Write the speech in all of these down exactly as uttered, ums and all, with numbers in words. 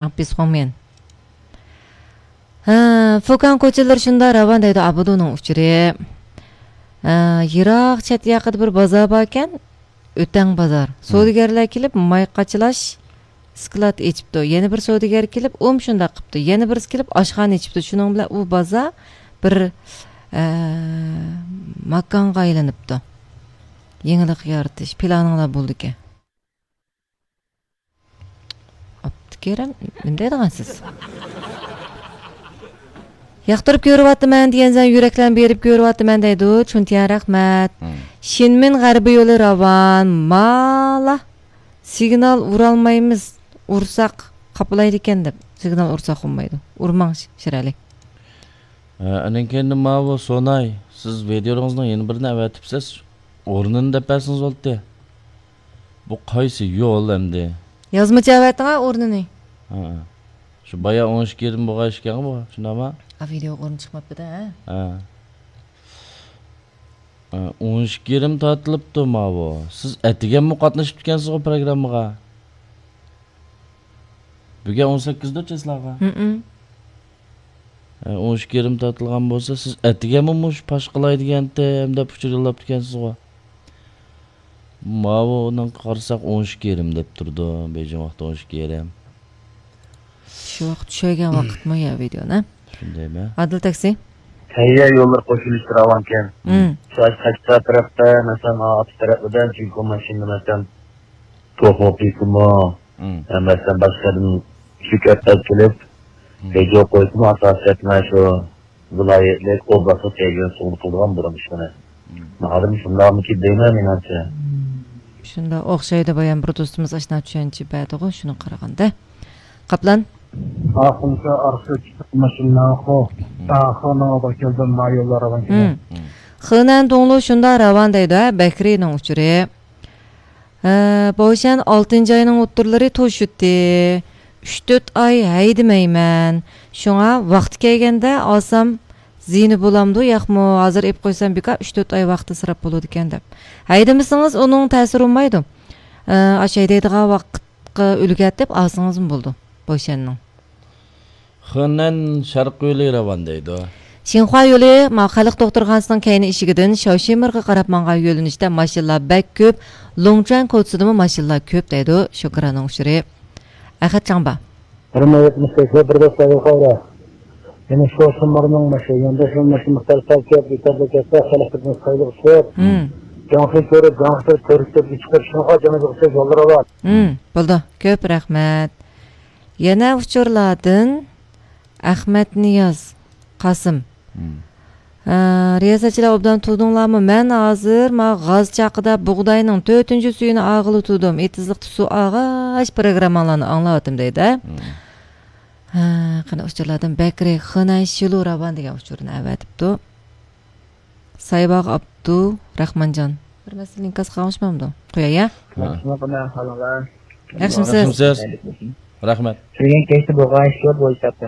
ھە، فۇكاڭ كوچىلىرى شۇنداق راۋان دەيدۇ ئابىدۇنىڭ ئۇچۇرى. ھە، يىراق چەت ياقىدا بىر بازار باركەن، ئۆتەڭ بازار. سودىگەرلەر كېلىپ ماي قاچىلاش سكلات ئېچىپتۇ. يەنە بىر سودىگەر كېلىپ ئۇم شۇنداق قىپتۇ. يەنە بىرسى كېلىپ ئاشخانا ئېچىپتۇ. شۇنىڭ بىلەن ئۇ بازار بىر، ھە، ماكانغا ئايلىنىپتۇ. يېڭىلىق يارىتىش پىلانىڭلار بولىدىكەن. ئابدۇكېرىم، نېمە دەيدىغانسىز؟ ياقتۇرۇپ كۆرۈۋاتىمەن دېگەنسەن، يۈرەكلەرنى بېرىپ كۆرۈۋاتىمەن دەيدۇ. چۈنتيەن، رەھمەت. شىنمىن غەربىي يولى راۋان، مالا سىگنال ئۇرالمايمىز، ئۇرساق قاپلايدىكەن دەپ. سىگنال ئۇرساق ئۇرمايدۇ. ئۇرماڭ، شىرئەلى. ھە، ئاندىن كېيىن ماۋۇ سوناي، سىز ۋىدېئولىرىڭىزنىڭ يەنە بىرىنى ئەۋەتىپسىز، ئورنىنى دەپ بەرسىڭىز بولاتتى. بۇ قايسى يول ئەمدى؟ يازمىچە ئەۋەتتىڭ-ھە ئورنىنى. ھە. شۇ بايا ئون ئىككى يېرىم بولغان ئىكەن بۇ، شۇنداقمۇ؟ ھە، ۋىدېئو ئورنى چىقماپتۇ-دە، ھە؟ ھە. ھە، ئون ئىككى يېرىم تارتىلىپتۇ ماۋۇ. سىز ئەتىگەنمۇ قاتنىشىپتىكەنسىزغۇ پروگراممىغا؟ بۈگۈن ئون سەككىزدۇ چىسلاغا؟ ھە، ئون ئىككى يېرىم تارتىلغان بولسا، سىز ئەتىگەنمۇ مۇشۇ پاش قىلاي دېگەنتىم دەپ ئۇچۇر يوللاپتىكەنسىزغۇ؟ ماۋۇنىڭغا قارىساق، ئون ئىككى يېرىم دەپ تۇرىدۇ، بېيجىڭ ۋاقتى ئون ئىككى يېرىم. شۇ ۋاقىت چۈشۈرگەن ۋاقىتمۇ يا ۋىدېونى؟ شۇندايمۇ؟ ئادىل تاكسى. تەييار يوللار قوشۇلۇشى راۋانكەن. مم. شۇ قەشقەر تەرەپتە، مەسىلەن، ئاتۇش تەرەپىدە جىڭكو ماشىنا، مەسىلەن، توخۇ قىلسىمۇ، مم. مەسىلەن، باشقىدىن شۇ كەپتەر كېلىپ، مم. ۋىدېو قويسىمۇ، ئاساسىي مانا شۇ ۋىلايەتلىك ئوبلاستلىق تەييار سۇغۇرتا قىلىدىغان بۇرۇن ئىشلىرى. مم. ناھايىتى شۇنداقمىكىن دەيمەن مېنىڭچە. شۇنداق ئوخشايدۇ، بايام بىر دوستىمىز ئاشۇنداق چۈشەنچە بەردىغۇ، شۇنىڭغا قارىغاندا. قاپلان. ئاخۇنسا ئارقىسى چىقىپ ماشىنا خو. مم. ئاخۇنىڭ ئالدىغا كەلدىم، ما يوللار راۋان كېلە. مم. مم. خېنەن دۇڭلۇ شۇنداق راۋان دەيدۇ، ھە، بەكرىنىڭ ئۇچۇرى. ھە، بوشەن ئالتىنچى ئاينىڭ ئوتتۇرىلىرى توشۇتتى. ئۈچ تۆت ئاي ھەيدىمەيمەن. شۇڭا ۋاقتى كەلگەندە ئالسام زىيىنى بولامدۇ، ياقمۇ؟ ھازىر ئېلىپ قويسام بىكار ئۈچ تۆت ئاي ۋاقتى ئىسراپ بولىدىكەن دەپ. ھەيدىمىسىڭىز ئۇنىڭ تەسىرى بولمايدۇ. ئە، ئاشۇ ھەيدەيدىغان ۋاقىتقا ئۈلگەرتىپ ئالسىڭىزمۇ بولىدۇ بوشەننىڭ. خېنەن شەرقىي يولى راۋان دەيدۇ. شىنخۇا يولى، ما، خەلق دوختۇرخانىسىنىڭ كەينى ئىشىكىدىن شاۋشىمىرغا قاراپ ماڭغان يۆنىلىشتە ماشىنىلار بەك كۆپ، لۇڭچۈەن كوچىسىدىمۇ ماشىنىلار كۆپ دەيدۇ. شۇكراننىڭ ئۇچۇرى. ئەخەت چاڭبا. بىر مىڭ يەتمىش بەش، بىر دەپ سايغا قارا. يەنە شۇ شۇمارنىڭ ماشىنا، يەنە شۇ ماشىنا مىقدار سەل كۆپ، يېتەرلىك كەتسە، خەلق خىزمىتى سايلىق ئىشلەپ. مم. جاڭخى كۆرۈپ، جاڭخى كۆرۈپ، كۆرۈپ، چىقىپ، شۇنىڭغا جەمە بولسا يوللىرى بار. مم، بولدى. كۆپ رەھمەت. يەنە ئۇچۇرلاردىن ئەخمەت نىياز قاسىم. مم. ھە، رىياسەتچىلەر ئوبدان تۇردۇڭلارمۇ؟ مەن ھازىر ما غاز چاقىدا بۇغداينىڭ تۆتىنچى سۈيىنى ئاغىلى تۇردۇم. ئېتىزلىقتا سۇ ئاغاچ پروگرامماڭلارنى ئاڭلاۋاتىم دەيدۇ. مم. ھە، قېنى ئۇچۇرلاردىن بەكرى خېنەن شىلۇ راۋان دېگەن ئۇچۇرنى ئەۋەتىپتۇ. سايباغ ئابدۇ رەھمانجان. بىر مەسىلە ئىنكاس قالغان ئىش بارمىدۇ؟ قوياي، يا؟ ھە. ياخشىمۇ، قانداق ئەھۋالىڭلار؟ ياخشىمۇسىز؟ ياخشىمۇسىز؟ رەھمەت. كىرگەن كەچتە بولغان ئىش يوق بۇ ھېسابتا.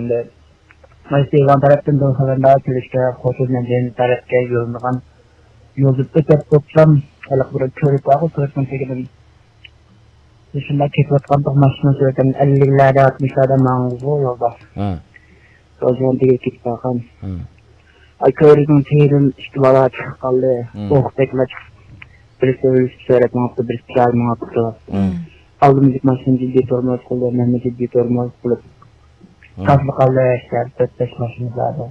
مانا سىلەر تەرەپتىن بىر خەۋەرلەر كېلىشكە، خوتۇن مەدەنىيەت تەرەپكە يۆنىلىدىغان يولدا ئۆتۈپ بولسام، ھېلىقى بىر كۆۋرۈك بارغۇ، كۆۋرۈكنىڭ تېگىدىن شۇنداق كېتىۋاتقاندا ماشىنا سۈرەتتە ئەللىكلەردە، ئاتمىشلاردا ماڭغۇزغۇ يولدا. ھە. سوزۇلغان تېگىگە كېتىپ قالغان. ھە. ئاي، كۆۋرۈكنىڭ تېگىدىن ئىككى بالا چىقىپ قالدى. ھە. ئوق تەكلا چىقىپ، بىرسى ئۆلۈشۈپ سۈرەتتە ماڭىپتۇ، بىرسى چىرايلىق ماڭىپتۇ. ھە. ئالدىمىزدىكى ماشىنا جىددىي تورمۇز قىلدى، مەنمۇ جىددىي تورمۇز قىلىپ. ھە. تاسلا قالدى، ئىچەردە تۆت-بەش ماشىنا بار ئىدى.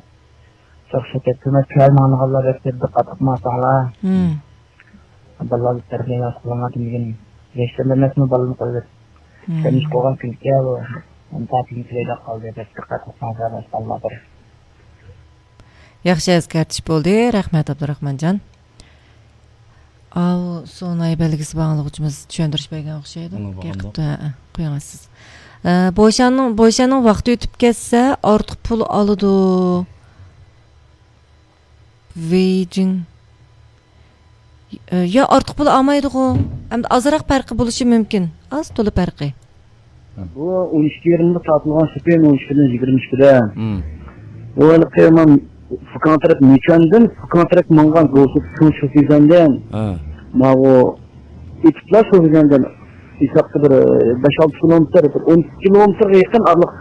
شۇ ئوخشاپ كەتتى. ھۆكۈمەت كۆرمەڭلار، دىققەت قىلماساڭلار. مم. بالىلارنى تەربىيە ياخشى قىلىڭلار دېمىگىن. ياشلار ئەمەسمۇ بالىنى قويۇپ. مم. سەن ئىش قىلغان كۈنكى بۇ. ئەمدى تاكىنى تۈگەيدەك قالدى دەپ دىققەت قىلساڭلار، باشقا بالىلار. ياخشى ئەسكەرتىش بولدى. رەھمەت، ئابدۇراخمانجان. ئاۋۇ سوناي بەلگىسى بار ئاڭلىغۇچىمىز چۈشەندۈرۈش بەرگەن ئوخشايدۇ. ئۇنى باقامدۇ؟ ھە، قويۇڭ سىز. ئە، بوشاننىڭ، بوشاننىڭ ۋاقتى ئۆتۈپ كەتسە، ئارتۇق پۇل ئالىدۇ. ۋېيجىڭ. ئە، يا ئارتۇق پۇل ئالمايدىغۇ. ئەمدى ئازراق پەرقى بولۇشى مۇمكىن. ئاز تولا پەرقى. بۇ ئون ئىككى يېرىمدە تارتىلغان شۇ كۈن، ئون ئىككىدىن يىگىرمە ئىككىدە. مم. بۇ ھېلىقى مانا فۇكاڭ تەرەپ نىچۈەندىن فۇكاڭ تەرەپ ماڭغان گوسۇت چوڭ شوفىزەندىن. ھە. ماۋۇ ئېتىپلا شوفىزەندىن ھېسابتا بىر بەش ئالتە كىلومېتىر، بىر ئون ئىككى كىلومېتىرغا يېقىن ئارىلىق